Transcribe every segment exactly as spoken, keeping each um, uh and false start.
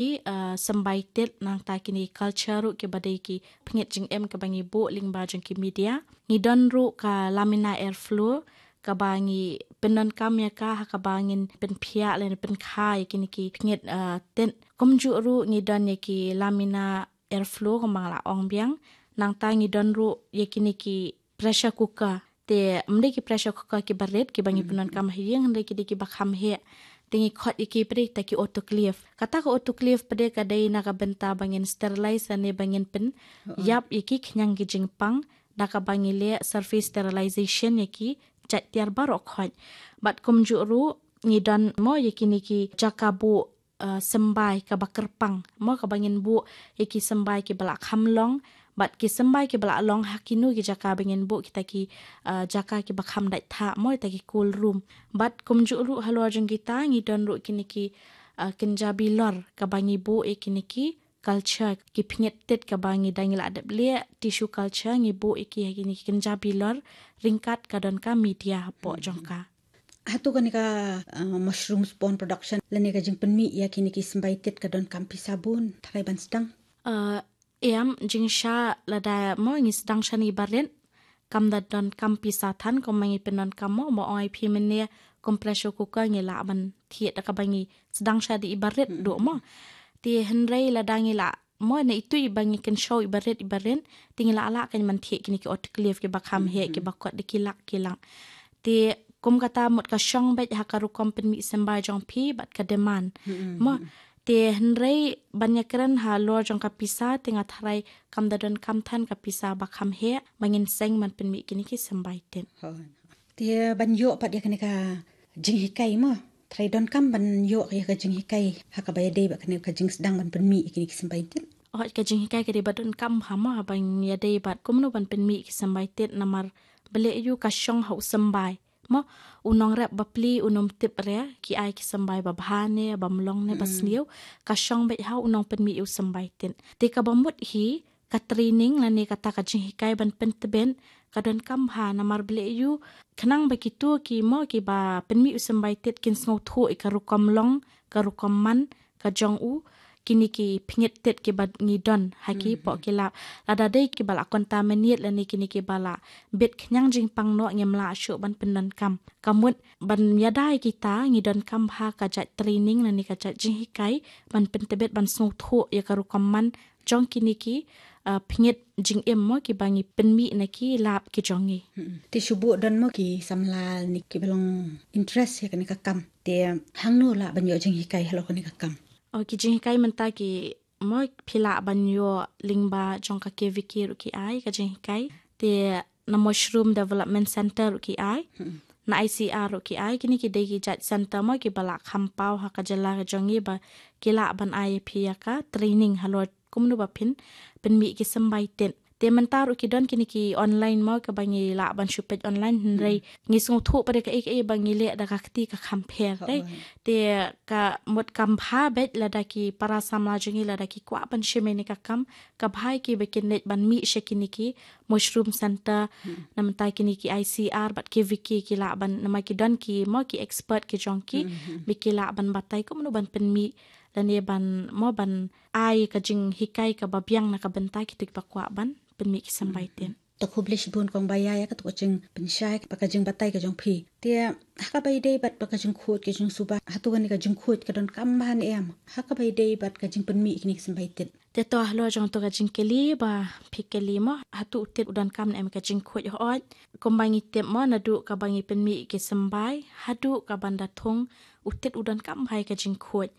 ki, uh, symbai tit nangta kine culture ruh kiba dei ki pynngeit jingim kaba ngi buh lyngba jong ki media. Ngi don ruh ka laminar airflow kaba ngi pyndonkam ïa ka ha kaba ngin pynphiah lane pynkha ïa kine ki pynngeit, uh, tit. Kumjuh ruh ngi don ïa ki laminar airflow kumba nga la ong biang. Nangta ngi don ruh ïa kine ki pressure cooker. Te ym dei ki pressure cooker kiba rit kiba ngi pyndonkam ha ïing, hynrei ki dei kiba kham heh. Te ngi khot ïa ki pat de ta ki autoclave. Kata ka autoclave pat de ka dei na ka bynta ba ngin sterilize lane ba ngin pynïap ïa ki khñiang ki jingpang na kaba ngi leh surface sterilization ïa ki jait tiar baroh khoit. Bad kumjuh ruh ngi don mo ïa kine ki jaka buh, uh, symbai kaba kyrpang, mo kaba ngin buh ïa ki symbai kiba la kham long, bad ki symbai kiba la long ha kino ki jaka ba ngin buh kita ki, uh, jaka kiba kham dait thah, mo kita ki cool room. Bad kumjuh ruh halor jong kita ngi don ruh kine ki, uh, kynja bilor kaba ngi buh ïa kine ki culture, ki pynngeit tit kaba ngi dang ngi la dep leh tissue culture, ngi buh ïa ki ha kine ki kynja bilor ryngkat ka don ka media hapoh jong ka. Hato kane ka, uh, mushroom spawn production lane ka jingpynmih ïa kine ki symbai tit ka donkam pisa bun tharai ban sdang? Uh, em, jingshisha lada mo ngi sdang shane iba rit, kam da donkam pisa than kumba ngi pyndonkam mo, mo ong ïa phi mynne kum pressure cooker ngi lah ban thied da kaba ngi sdang shane iba rit duh mo. Te hynrei lada ngi lah mo na itu iba ngi kynshew iba rit iba rit, te ngi lah lah kan ban thied kine ki autoclave kiba kham heh kiba kot da ki lak ki lak. Te kum kata mut ka shong beit ha ka rukom pynmih symbai jong phi bad ka demand. Mo, te hynrei ban ïakren halor jong ka pisa te nga tharai kam da donkam than ka pisa ba kham heh ba ngin seng ban pynmih kine ki symbai tit. Te ban ïoh pat ïa kane ka jinghikai mo, tharai donkam ban ïoh ïa ka jinghikai ha kaba ïadei bad kane ka jingsdang ban pynmih ïa kine ki symbai tit? Oh, ka jinghikai ka dei ba donkam ha mo, ha ban ïadei bad kumno ban pynmih ki symbai tit, namar balei ïa u ka shong ha u symbai. Mo, u nongrep bapli un ym tip re ki ai ki symbai ba bha ne ba mlong ne ba sniew, ka shong beit ha u nongpynmih ïa u symbai tit. Te kaba mut hi ka training lane kata ka jinghikai ban pyntbit ka donkam bha, namar balei ïa u khnang ba kito ki mo kiba pynmih u symbai tit kin sngewthuh ïa ka rukom long, ka rukom man ka jong u, kine ki pynngeit tit kiba ngi don ha ki poh ki lab. Lada dei kiba la contaminate lane kine kiba la bit khñiang jingpang noh ngim lah shuh ban pyndonkam. Ka mut ban ïada ïa kita ngi donkam bha ka jait training lane ka jait jinghikai ban pyntbit ban sngewthuh ïa ka rukom man jong kine ki, uh, pynngeit jingim mo kiba ngi pynmih na ki lab ki jong ngi. Te shu buh don mo ki samla ne kiba long interest ïa kane ka kam, te hangno lah ban ïoh jinghikai halor kane ka kam? Oh, ki jinghikai mynta ki mo phi lah ban ïoh lyngba jong ka K V K ruh ki ai ka jinghikai. Te na Mushroom Development Center ruh ki ai. Na I C R ruh ki ai. Kine ki dei ki jait center mo kiba la kham paw ha ka jylla ka jong ngi ba ki lah ban ai ïa phi ïa ka training halor kumno ba phin pynmih ki symbai tit. Te mynta ruh ki don kine ki online mo kaba ngi lah ban shu peit online, hynrei ngi sngewthuh pat de kaei kaei ba ngi leh da ka kti ka kham pher de. Te ka mut kam bha beit lada ki para samla jong ngi lada ki kwah ban shim ïa kane ka kam, ka bha ïa ki ba kin leit ban mih sha kine ki Mushroom Center, na mynta kine ki I C R bad K V K ki lah ban, namar ki don ki mo ki expert ki jong ki, ba ki lah ban batai kumno ban pynmih lane ban mo ban ai ka jinghikai kaba biang na ka bynta kito kiba kwah ban pynmih ki symbai tit. To khublei shibun kong Baiai ïa kato ka jingpynshai bad ka jingbatai ka jong phi. Te ha kaba ïadei bad ka jingkhuid ka jingsuba, hato kane ka jingkhuid ka donkam bha ne em ha kaba ïadei bad ka jingpynmih kine ki symbai tit? Te to halor jong to ka jingkylli ba phi kylli mo, hato u tit u donkam ne em ka jingkhuid? Hooid, kumba ngi tip mo naduh kaba ngi pynmih ki symbai haduh kaban da thung, u tit u donkam bha ïa ka jingkhuid.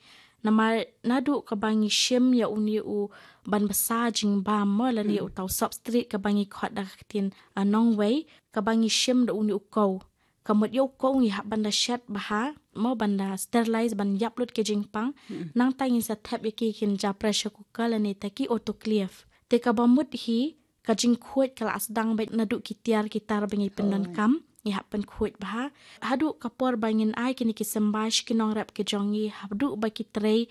Namar naduh kaba ngi shim ïa une u ban bsa jingbam mo lane ïa uta u substrate kaba ngi khot da ka ktien, ah, nongwei, kaba ngi shim da une u kow. Ka mut ïa u kow ngi hap ban da shet bha mo, ban da sterilize, ban ïap lut ki jingpang. Nangta ngin sa thep ïa ki kynja pressure cooker lane ta ki autoclave. Te kaba mut hi ka jingkhuid ka la sdang beit naduh ki tiar ki tar ba ngi pyndonkam, ngi hap pynkhuid bha. Haduh ka por ba ngin ai kine ki symbai sha ki nongrep ki jong ngi, haduh ba ki trei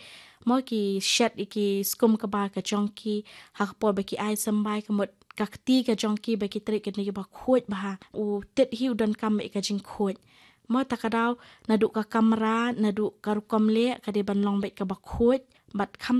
mo ki shet ïa ki skum kba ka jong ki, ha ka por ba ki ai symbai, ka mut ka kti ka jong ki ba ki trei kine kiba khuid bha. U tit hi u donkam beit ka jingkhuid. mo ta ka daw naduh ka kamra naduh ka rukom leh ka dei ban long beit kaba khuid bad kham